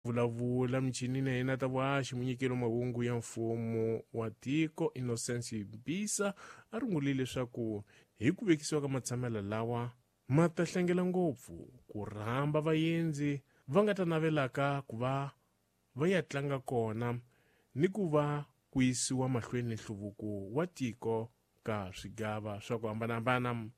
Vulavula michinini ya yena ta vuhaxi munyikeli wa mahungu ya mfumo wa tiko Innocence Mbisa a rungulile leswaku hi ku vekisiwa ka matshamela lawa ma ta hlengela ngopfu ku rhamba vaendzi va nga ta navelaka ku va va ya tlanga kona ni ku va ku yisiwa mahlweni nhluvuko wa tiko ka swigava swa ku hambanahambana.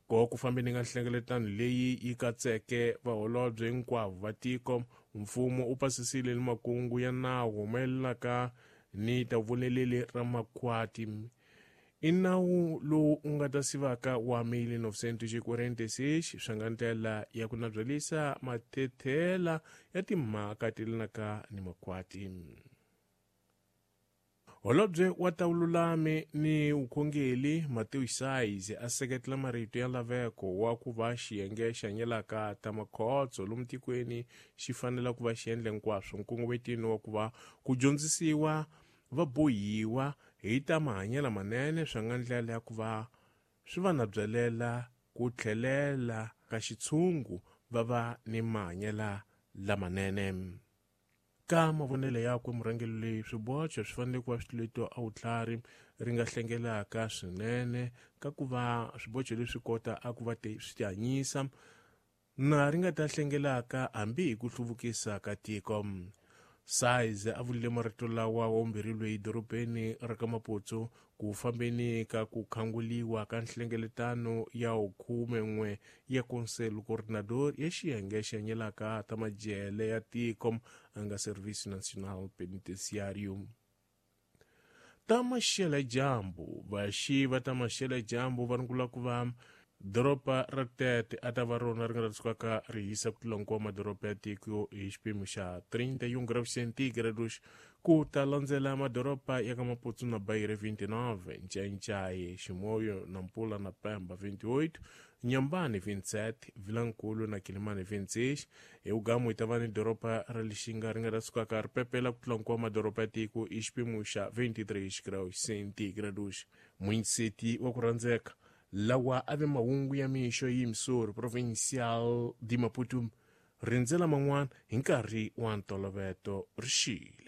Ko ku fambeni ka nhlengeletano leyi yi katseke vaholobye hinkwavo va tiko, mfumo u pasisile ni makungu ya nawu mayelanaka ni ta voneleli ra makhwati. I nawu lowu u nga ta sivaka wa 1946 swi nga ndlela ya ku nabyalisa mathethela ya timhaka ti yelanaka ni makhwati. Holobye wa ta vululami ni vukhongeli Mateo Size a seketela marito ya laveko wa ku va xiyenge xi hanyelaka ta makhotso lomu tikweni xi fanela ku va xi endle hinkwaswo nkongometini wa ku va ku dyondzisiwa vabohiwa hi ta mahanyelo manene swi nga ndlela ya ku va swi va nabyelela ku tlhelela ka xitshungu va va ni mahanyelo lamanene. Ka mavonelo yakwe murhangeri loyi swibocho swi fanele ku va switluleto a vutlhari ri nga hlengelaka swinene ka ku va swibocho leswi kota a ku va swi tihanyisa na ri nga ta hlengelaka hambi hi ku hluvukisa ka tiko. Size a vulile marito lawa wa vumbirhi loyi dorobeni ra ka Maputsu ku fambeni ka ku khanguliwa ka nhlengeletano ya 11 ya Conselho Coordenador ya xiyenge xi hanyelaka ta majele ya tiko a nga Serviço Nacional Penitenciário. Ta maxela dyambu vaxi va ta maxela dyambu va rungula ku va doroba ra Tete a ta va rona ri nga ta sukaka ri hisa ku tlula hinkwawo madoroba ya tiko hi xipimo xa 31 graus centígrados ku ta landzela madoroba ya ka Maputsu na Beira 29, Ncaincae, Chimoio, Nampula na Pemba 28, Nyambani 27, Vilankulu na Kilimani 26. Hi vugamu hi ta va ni doroba ra Lixinga ri nga ta sukaka ri pepela ku tlula hinkwawo madoroba ya tiko hi xipimo xa 23 graus centígrados. Munyiseti wa ku rhandzeka lawa a ve mahungu ya mixo yi Missouri Provincial de Maputo rindzela man'wana hi nkarhi wa ntoloveto rixile.